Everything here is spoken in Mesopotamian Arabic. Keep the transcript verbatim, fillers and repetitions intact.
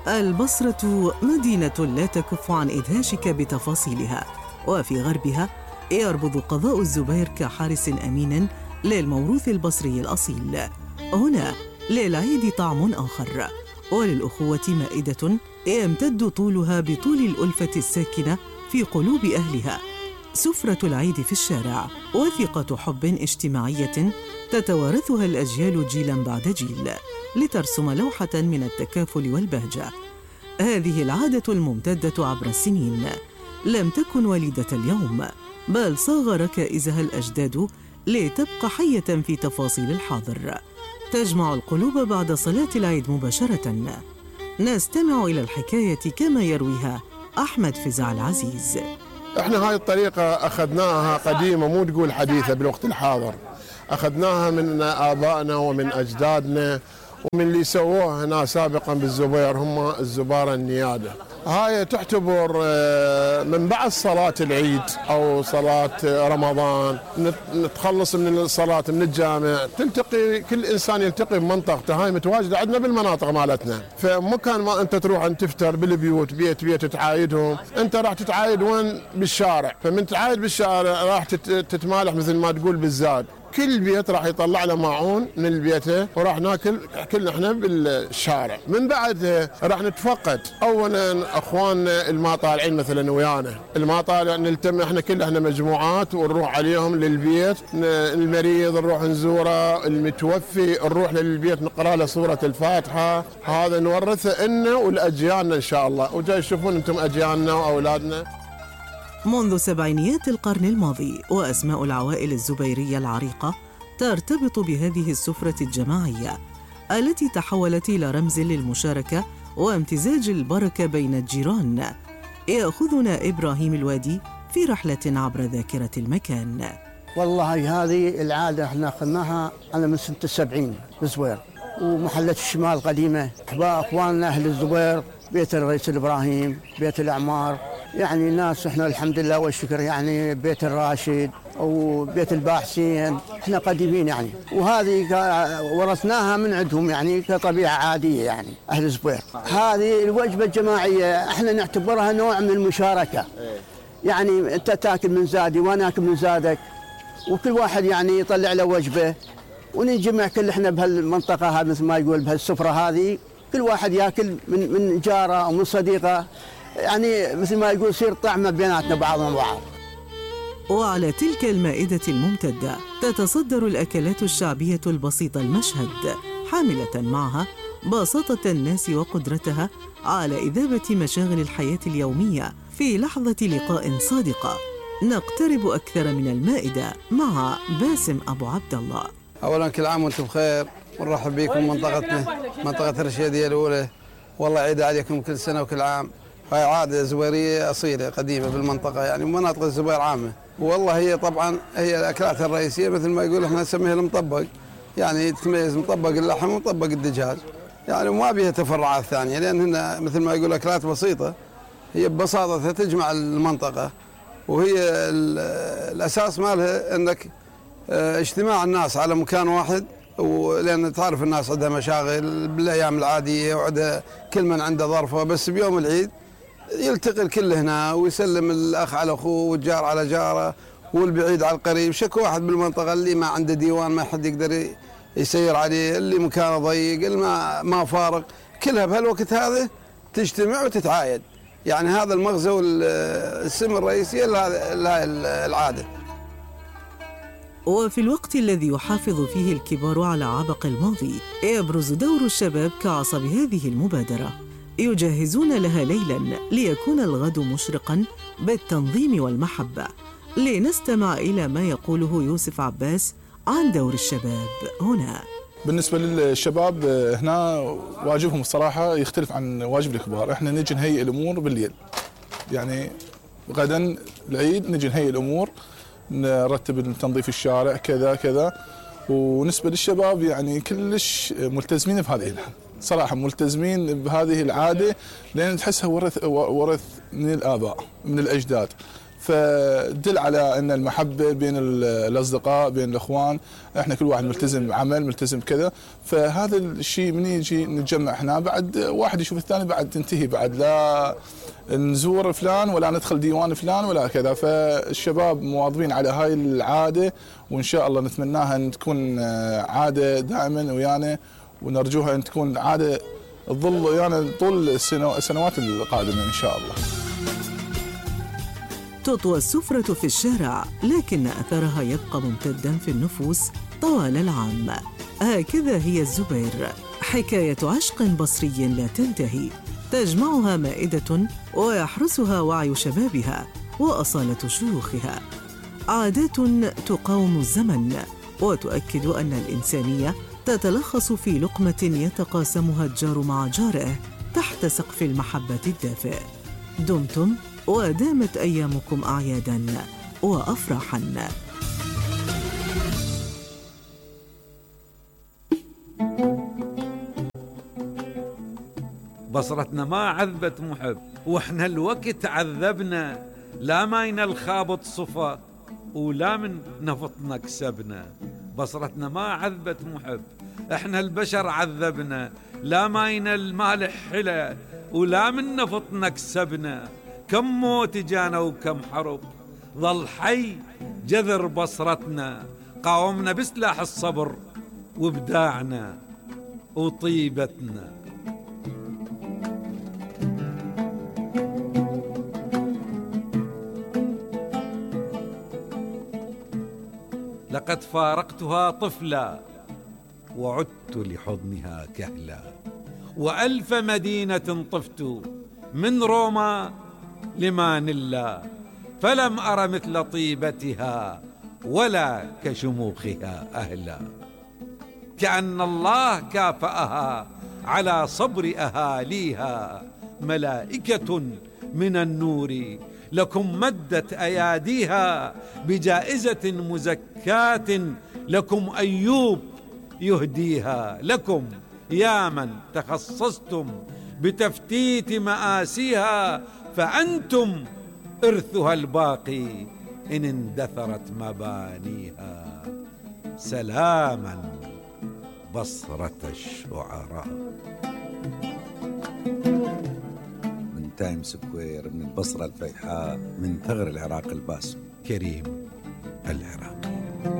البصرة مدينة لا تكف عن إدهاشك بتفاصيلها، وفي غربها يربض قضاء الزبير كحارس أمين للموروث البصري الأصيل. هنا للعيد طعم آخر، وللأخوة مائدة يمتد طولها بطول الألفة الساكنة في قلوب أهلها. سفرة العيد في الشارع وثيقة حب اجتماعية تتوارثها الأجيال جيلاً بعد جيل لترسم لوحة من التكافل والبهجة. هذه العادة الممتدة عبر السنين لم تكن وليدة اليوم، بل صاغ ركائزها الأجداد لتبقى حية في تفاصيل الحاضر، تجمع القلوب بعد صلاة العيد مباشرة. نستمع إلى الحكاية كما يرويها أحمد فزع العزيز. احنا هاي الطريقة أخذناها قديمة، مو تقول حديثة بالوقت الحاضر، أخذناها من آبائنا ومن أجدادنا ومن اللي سووها هنا سابقا بالزبير، هم الزبارة النيادة. هاي تعتبر من بعد صلاة العيد أو صلاة رمضان، نتخلص من الصلاة من الجامع، تلتقي كل إنسان يلتقي بمنطقته. هاي متواجدة عندنا بالمناطق مالتنا، فمكان ما أنت تروح أن تفتر بالبيوت بيت بيت تعايدهم، أنت راح تتعايد وين؟ بالشارع. فمن تعايد بالشارع راح تتمالح مثل ما تقول بالزاد. كل بيت راح يطلع له ماعون من بيته وراح ناكل كلنا احنا بالشارع. من بعد راح نتفقد اولا اخواننا الما طالعين مثلا ويانا، الما طالع نلتم احنا كل احنا مجموعات ونروح عليهم للبيت، المريض نروح نزوره، المتوفي نروح للبيت نقرا له سوره الفاتحه. هذا نورثه لنا ولاجيالنا ان شاء الله، وجاي تشوفون انتم اجيالنا واولادنا. منذ سبعينيات القرن الماضي وأسماء العوائل الزبيرية العريقة ترتبط بهذه السفرة الجماعية التي تحولت إلى رمز للمشاركة وامتزاج البركة بين الجيران. يأخذنا إبراهيم الوادي في رحلة عبر ذاكرة المكان. والله هذه العادة احنا أخذناها أنا من سنة السبعين بالزبير، ومحلة الشمال القديمة أخواننا أهل الزبير، بيت الرئيس الإبراهيم، بيت الأعمار، يعني ناس احنا الحمد لله والشكر، يعني بيت الراشد وبيت الباحسين، احنا قديمين يعني، وهذه ورثناها من عندهم يعني كطبيعة عادية يعني أهل الزبير. هذه الوجبة الجماعية احنا نعتبرها نوع من المشاركة، يعني انت تاكل من زادي وانا اكل من زادك، وكل واحد يعني يطلع له وجبة ونجمع كل احنا بهالمنطقة هذه مثل ما يقول بهالسفرة هذه، كل واحد ياكل من من جاره او من صديقه، يعني مثل ما يقول يصير طعمه بيناتنا بعضنا بعض. وعلى تلك المائدة الممتدة تتصدر الأكلات الشعبية البسيطة المشهد، حاملة معها بساطة الناس وقدرتها على إذابة مشاغل الحياة اليومية في لحظة لقاء صادقة. نقترب أكثر من المائدة مع باسم أبو عبد الله. أولاً كل عام وأنتم بخير، ونرحب بكم منطقتنا منطقة الرشيدية الأولى، والله عيد عليكم كل سنة وكل عام. هاي عادة زبيرية أصيلة قديمة بالمنطقة يعني ومناطق الزبير عامة، والله هي طبعا هي الأكلات الرئيسية مثل ما يقول احنا نسميها المطبق، يعني تتميز مطبق اللحم ومطبق الدجاج يعني، وما بيها تفرعات ثانية لأن هنا مثل ما يقول أكلات بسيطة هي ببساطتها تجمع المنطقة، وهي الأساس مالها أنك اجتماع الناس على مكان واحد، ولأن تعرف الناس عندها مشاغل بالأيام العادية وعندها كل من عنده ظرفة، بس بيوم العيد يلتقي الكل هنا ويسلم الأخ على أخوه والجار على جاره والبعيد على القريب. شكو واحد بالمنطقة اللي ما عنده ديوان ما حد يقدر يسير عليه، اللي مكانه ضيق، اللي ما ما فارق، كلها بهالوقت هذا تجتمع وتتعايد، يعني هذا المغزى والسم الرئيسي لهذه العادة. وفي الوقت الذي يحافظ فيه الكبار على عبق الماضي يبرز دور الشباب كعصب هذه المبادرة، يجهزون لها ليلاً ليكون الغد مشرقاً بالتنظيم والمحبة. لنستمع إلى ما يقوله يوسف عباس عن دور الشباب هنا. بالنسبة للشباب هنا واجبهم الصراحة يختلف عن واجب الكبار. احنا نجي نهيئ الأمور بالليل، يعني غدا العيد نجي نهيئ الأمور، نرتب تنظيف الشارع كذا كذا. ونسبة للشباب يعني كلش ملتزمين بهذه صراحة، ملتزمين بهذه العادة لأن تحسها ورث ورث من الآباء من الأجداد، فدل على ان المحبه بين الاصدقاء بين الاخوان، احنا كل واحد ملتزم بعمل ملتزم كذا، فهذا الشيء من يجي نتجمع احنا بعد واحد يشوف الثاني بعد تنتهي بعد لا نزور فلان ولا ندخل ديوان فلان ولا كذا. فالشباب مواظبين على هاي العاده، وان شاء الله نتمناها ان تكون عاده دائما ويانا، ونرجوها ان تكون عاده تظل ويانا طول السنوات القادمه ان شاء الله. تطوى السفرة في الشارع، لكن أثرها يبقى ممتداً في النفوس طوال العام. هكذا هي الزبير، حكاية عشق بصري لا تنتهي، تجمعها مائدة ويحرسها وعي شبابها وأصالة شيوخها، عادات تقاوم الزمن وتؤكد أن الإنسانية تتلخص في لقمة يتقاسمها الجار مع جاره تحت سقف المحبة الدافئ. دمتم ودامت أيامكم أعياداً وأفراحاً. بصرتنا ما عذبت محب، واحنا الوقت عذبنا، لا ماينا الخابط صفا ولا من نفطنا كسبنا. بصرتنا ما عذبت محب، احنا البشر عذبنا، لا ماينا المالح حلا ولا من نفطنا كسبنا. كم موت جانا وكم حرب، ظل حي جذر بصرتنا، قاومنا بسلاح الصبر وابداعنا وطيبتنا. لقد فارقتها طفلا وعدت لحضنها كهلا، وألف مدينة طفت من روما لمانيلا، فلم أر مثل طيبتها ولا كشموخها أهلا. كأن الله كافأها على صبر أهاليها، ملائكة من النور لكم مدت أياديها، بجائزة مزكاة لكم أيوب يهديها. لكم يا من تخصصتم بتفتيت مآسيها، فأنتم إرثها الباقي إن اندثرت مبانيها. سلاما بصرة الشعراء. من تايم سكوير، من البصرة الفيحاء، من ثغر العراق الباسم، كريم العراقي.